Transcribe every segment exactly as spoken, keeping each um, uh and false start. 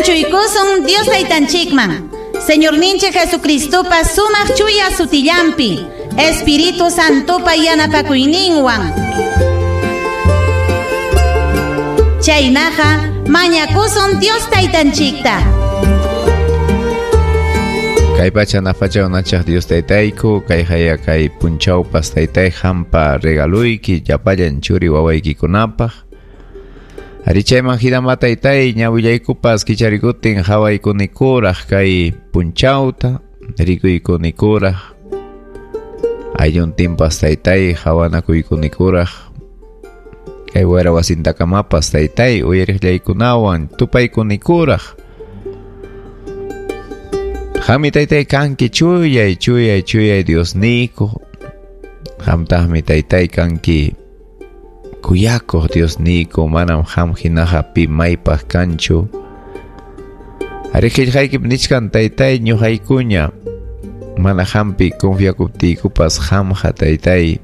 Anchuykusun Dios taytanchikman. Señorninchik Jesucristopa sumaq chuya sutillampi, Espíritu Santopa yanapakuyninwan. Chaynaqa mañakusun Dios taytanchikta. Kay pacha nafacha unachaq Dios taytayku, kay haya kay punchawpas taytay hampa regaluyki llapallan churi wawaykikunapaq. Arichayman hinama taytay ñawillaykupas kicharikutin hawaykunikuraq kay punchawta, rikuykunikuraq. Aylluntinpas taytay hawanakuykunikuraq. Kay wayra wasintakamapas taytay uyariqllaykunawan tupaykunikuraq. Qammi taytay kanki chuyay chuyay chuyay Diosniyku. Qamtaqmi taytay kanki kuyakuq Diosniyku, manam qam hinaqa pi maypaq kanchu. Ari qillqaykip nichkan taytay ñuqaykuña mana qampi confiakuptiykupas qamqa taytay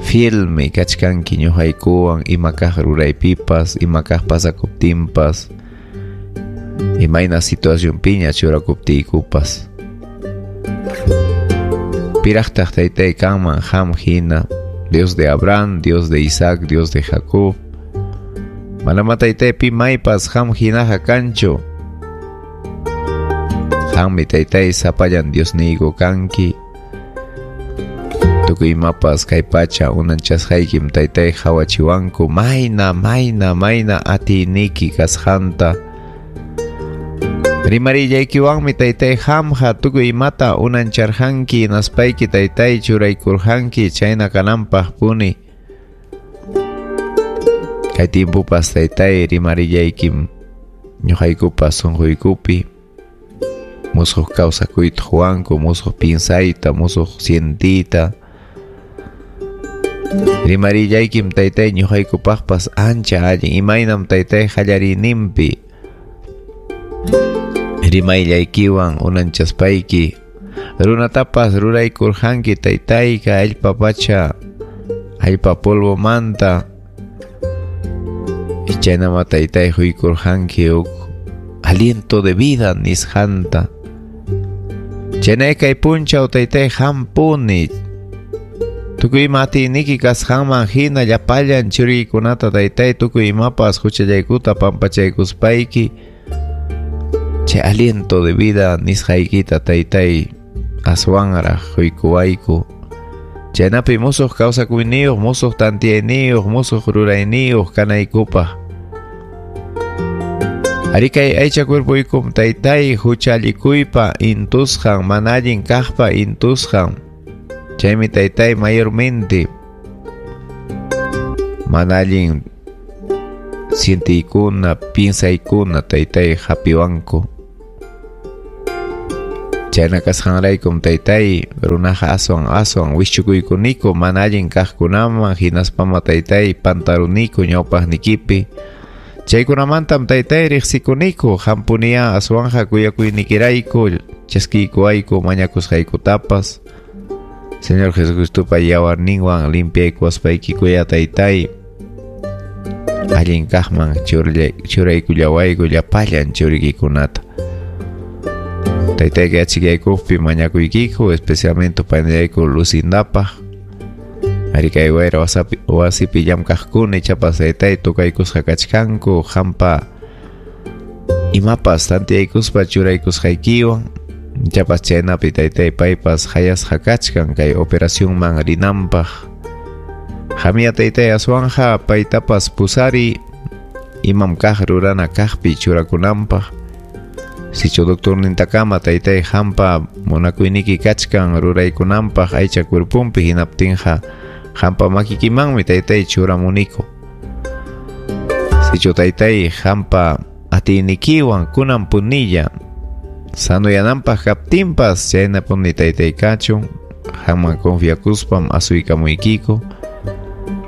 fielmi kachkanki ñuqaykuwan ima kaq ruraypipas, ima kaq pasakuptinpas, imayna situacionpiña churakuptiykupas. Piraqtaq taytay kanman qam hina, Dios de Abraham, Dios de Isaac, Dios de Jacob. Manama taytay pi maypas qam hinaqa kanchu. Qammi taytay sapallan Diosniyku kanki. Tukuy imapas kay pacha unanchasqaykim taytay hawachiwanku mayna mayna mayna atiyniki kasqanta. Rimarillaykiwanmi taytay qamqa tukuy imata unancharqanki hinaspayki taytay churaykurqanki chayna kananpaq puni. Kay timpupas taytay rimarillaykim ñuqaykupas sunquykupi musuq kawsakuyta quwanku, musuq pinsayta, musuq sientiyta. Rimarillaykim taytay ñuqaykupaqpas ancha allin imaynam taytay qallariyninpi rimayllaykiwan unanchaspayki runatapas ruraykurqanki taytayqa allpa pacha allpa polvomanta chaynama taytay huykurqanki huk aliento de vida nisqanta. Chaynay kay punchaw taytay hampuni tukuy ima atiyniki kasqanman hina llapallan churiykunata taytay tukuy imapas huchallaykuta pampachaykuspayki chay aliento de vida nisqaykita taytay aswanraq huykuwayku. Chaynapi musuq kawsakuyniyuq, musuq tantiyayniyuq, musuq rurayniyuq kanaykupaq. Ari kay aycha cuerpuykum taytay huchallikuypa intusqan, mana allin kaqpa intusqan. Chaymi taytay mayormente mana allin sientiykuna, piensaykuna taytay hapiwanku. Chayna kasqanraykum taytay runaqa aswan aswan wischukuykuniko mana allin kaqkunaman hinaspama taytay pantaruniku ñawpaqnikipi. Chaykunamantam taytay riqsikuniku hampuniya aswanja kuyakuynikirayku chaskiykuwayku mañakusqaykutapas. Señor Jesucristopa yawarninwan limpiaykuwaspayki kuya taytay allin kaqman churaykullawayku llapallan churiykikunata. Taytayki achikaykuqpi mañakuykiku especialmente panillayku Lucindapaq. Ari kay wayra wasipi llamkaqkuna ichapas taytay tukaykusqa kachkanku qampa imapas tantiyaykuspa churaykusqaykiwan. Ichapas chaynapi taytay paypas hayasqa kachkan kay operacionman rinanpaq. Qamiya taytay aswanja paytapas pusari imam kaq rurana kaqpi churakunanpaq. Sichu doctornintakama taytay hampa munakuyniki kachkan ruraykunanpaq aycha cuerpunpi hinaptinqa hampa makikimanmi taytay churamuniku. Sichu taytay hampa atiynikiwan kunan punilla sanoyananpaq kaptinpas chaynapuni taytay kachun qamman confiakuspam asuykamuykiku.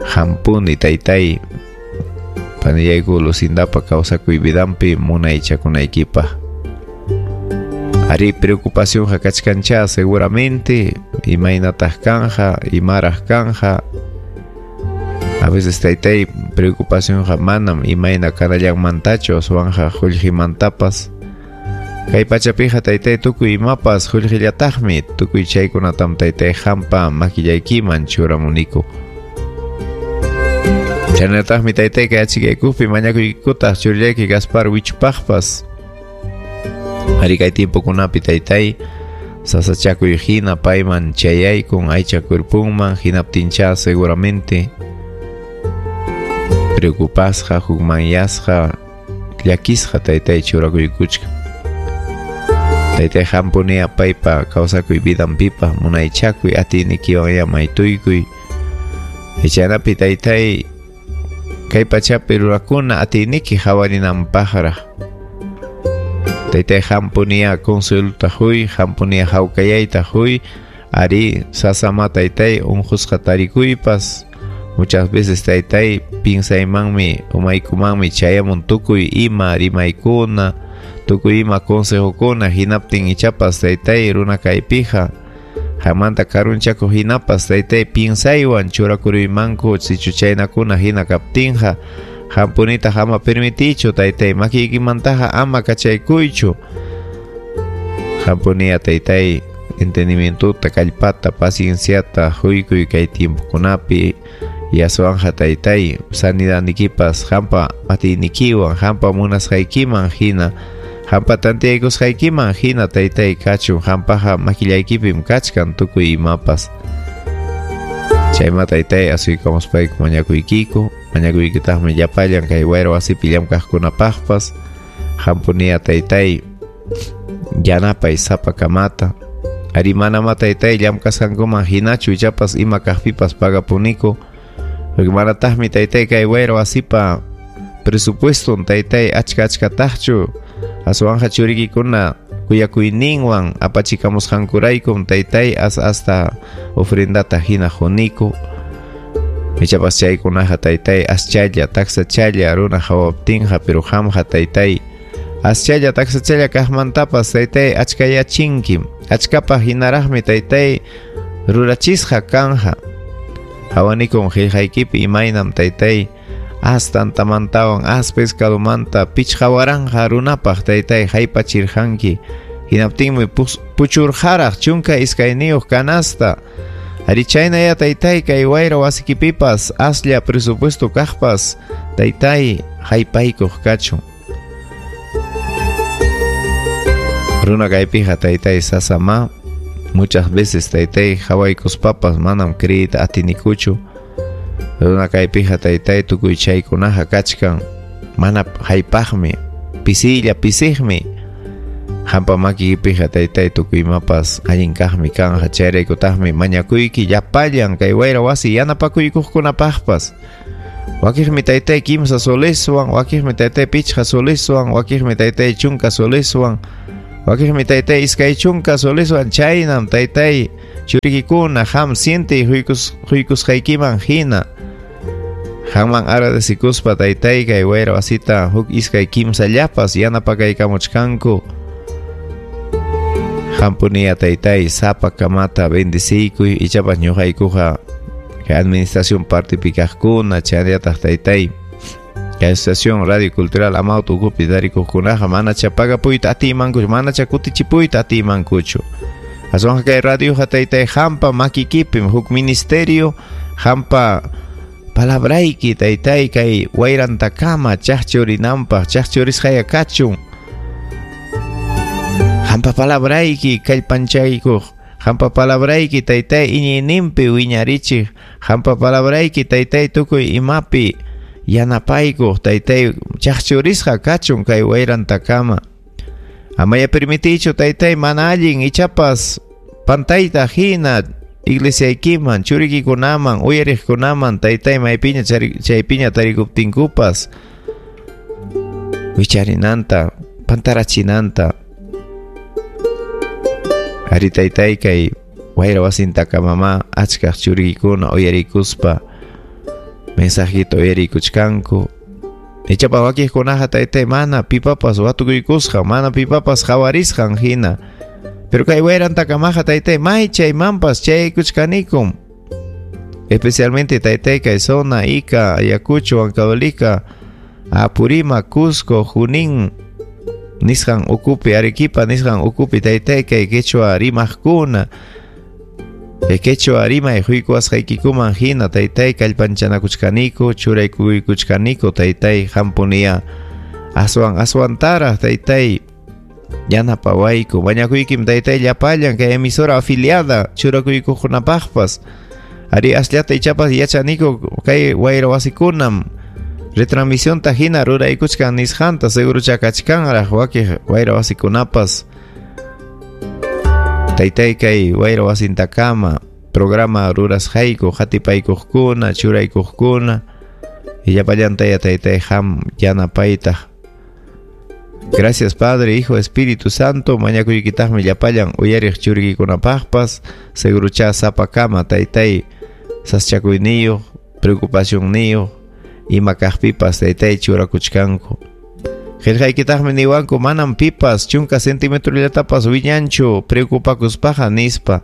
Hampuni taytay panillayku Lucindapa kawsakuy vidanpi munaychakunaykipaq. Ari preocupacionqa kachkancha seguramente imaynataq kanja imaraq kanja. A veces taytay preocupacionqa manam imayna kanallanmantachu aswanqa qullqimantapas. Kay pachapiqa taytay tukuy imapas qullqillataqmi, tukuy chaykunatam taytay hampa makillaykiman churamuniku. Chaynataqmi taytay kay achikaykupi mañakuykutaq churillayki Gaspar Wichupaqpas. Ari kay tiempokunapi taytay sasachakuy hina payman chayaykun aycha kurpunman hinaptincha seguramente preocupasqa hukmanyasqa llakisqa taytay churakuykuchka. Taytay hampunia paypa kawsakuy vidanpipa munaychakuy atiynikiwan maytuykuy. Chaynapi taytay kay pachapi rurakuna atiyniki hawarinanpaqraq. Taytay hampunia consuelota huy, hampunia hawkayayta huy, ari sasama taytay unqusqa tarikuypas. Muchas veces taytay pinsaymanmi umaykumanmi chayamun tukuy ima rimaykuna, tukuy ima consejokuna hinaptin ichapas taytay runa kaypiqa hamanta karunchakuq hinapas taytay pinsaywan churakuruymanku sichu chaynakuna hina kaptinqa. Hampunita ama permitichu taytay makiykimantaqa ama kachaykuychu. Hampunia taytay entendimientota kallpata pacienciata huykuy kay tiempokunapi yaswanja taytay sanidadnikipas hampa atiynikiwan hampa munasqaykiman hina hampa tantiyaykusqaykiman hina taytay kachun hampaqa makillaykipim kachkan tukuy imapas. Chayma taytay asuykamuspayku mañakuykiku, mañakuykitaqmi llapallan kay wayra wasipi llamkaqkunapaqpas. Hampunia taytay yanapay sapakamata. Ari manama taytay llamkasqankuman hinachu ichapas ima kaqpipas pagapuniku. Manataqmi taytay kay wayra wasipa presupueston taytay achka achkataqchu aswanja churikikuna kuyakuyninwan apachikamusqankuraykum taytay as hasta ofrendata hina quniku. Ichapas chaykunaqa taytay aschalla taksachalla runa hawaptinqa pero qamqa taytay aschalla taksachalla kaqmantapas taytay achkayachinkim achkapaq hinaraqmi taytay rurachisqa kanja. Hawanikun qillqaykipi imaynam taytay as tantamantawan as pescadomanta pichqa waranqa runapaq taytay haypachirqanki. Hinaptinmi puchurqaraq chunka iskayniyuq canasta. Ari chaynaya taytay kay wayra wasikipipas aslla presupuesto kaqpas taytay haypaykuq kachun. Runa kaypiqa taytay sasama muchas veces taytay hawaykuspapas manam creeyta atinikuchu. Runa kaypiqa taytay tukuy chaykunaqa kachkan mana haypaqmi pisilla pisiqmi. Hampa makipiqa taytay tukuy imapas allin kaqmi kanja chayraykutaqmi mañakuyki llapallan kay wayra wasi yanapakuykuqkunapaqpas. Wakiqmi taytay kimsa soleswan, wakiqmi taytay pichqa soleswan, wakiqmi taytay chunka soleswan, wakiqmi taytay iskay chunka soleswan. Chaynam taytay churikikuna ham siente huykusqaykiman hina. Haman agradecikuspa taytay kay wayra wasita huk iskay kimsallapas yanapakaykamuchkanku. Hampunia taytay sapa kamata bendeciykuy ichapas ñuqaykuqa kay administración partipi kaqkuna chaynallataq taytay kay asociación radio cultural Amauta ukupi tarikuqkunaqa manacha pagapuyta atiymankuchu manacha kutichipuyta atiymankuchu. Aswanqa kay radioqa taytay hampa makikipim huk ministerio hampa palabrayki taytay kay wayrantakama chaqchurinanpaq chaqchurisqaya kachun. Hampa palabrayki kallpanchaykuq, hampa palabrayki taytay iñiyninpi wiñarichiq, hampa palabrayki taytay tukuy imapi yanapaykuq taytay chaqchurisqa kachun kay wayrantakama. Amaya permitichu taytay mana allin ichapas pantayta hina iglesiaykiman churikikunaman uyariqkunaman taytay maypiña chaypiña tarikuptinkupas wicharinanta pantarachinanta. Ari taytay kay wayra wasintakamama achkaq churikikuna uyarikuspa mensajito uyarikuchkanku. Ichapas wakiqkunaqa taytay mana pipapas watukuykusqa mana pipapas hawarisqan hina. Pero kay wayrantakamaqa taytay may chaymanpas chayaykuchkanikum. Especialmente taytay kay zona Ica, Ayacucho, Huancavelica, Apurímac, Cusco, Junín nisqan ukupi, Arequipa nisqan ukupi taytay kay quechua rimaqkuna. Kay quechua rimay huykuwasqaykikuman hina taytay kallpanchanakuchkaniku, churaykuykuchkaniku taytay hampuniya aswan aswantaraq taytay yanapawayku. Mañakuykim taytay llapallan kay emisora afiliada churakuykuqkunapaqpas. Ari asllata ichapas yachaniku kay wayra wasikunam retransmisionta hina ruraykuchkan nisqanta segurucha kachkanraq wakiq wayra wasikunapas. Taytay kay wayra wasintakama programa rurasqayku qatipaykuqkuna churaykuqkuna llapallantaya taytay ham yanapaytaq. Gracias Padre, Hijo, Espíritu Santo. Mañakuykitaqmi llapallan uyariq churikikunapaqpas segurucha sapakama taytay sasachakuyniyuq preocupacionniyuq ima kaqpipas taytay churakuchkanku. Qillqaykitaqmi niwanku manam pipas chunka centimetrollatapas wiñanchu preocupakuspaqa nispa.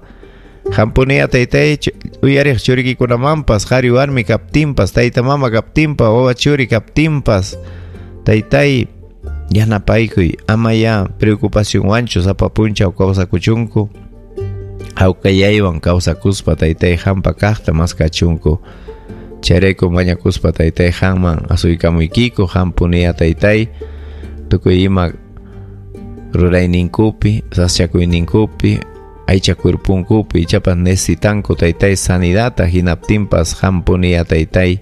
Hampuniya taytay uyariq churikikunamanpas qhari warmi kaptinpas tayta mama kaptinpas wawa churi kaptinpas taytay yanapaykuy ama ya preocupacionwanchu sapa punchaw kawsakuchunku hawkayaywan kawsakuspa taytay hampa kaqta maskachunku. Chayrayku mañakuspa taytay hamman asuykamuykiku hampuniya taytay tukuy ima rurayninkupi sasachakuyninkupi aycha cuerpunkupi ichapas necesitanku taytay sanidata hinaptinpas hampuniya taytay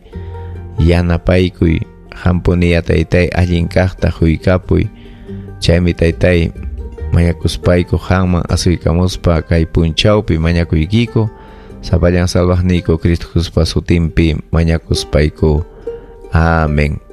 yanapaykuy hampuniya taytay allin kaqta huykapuy. Chaymi taytay mañakuspayku hamman asuykamuspa kay punchawpi mañakuykiku sapallan salvaqniyku Cristo Jesuspa sutinpi mañakuspayku. Amén.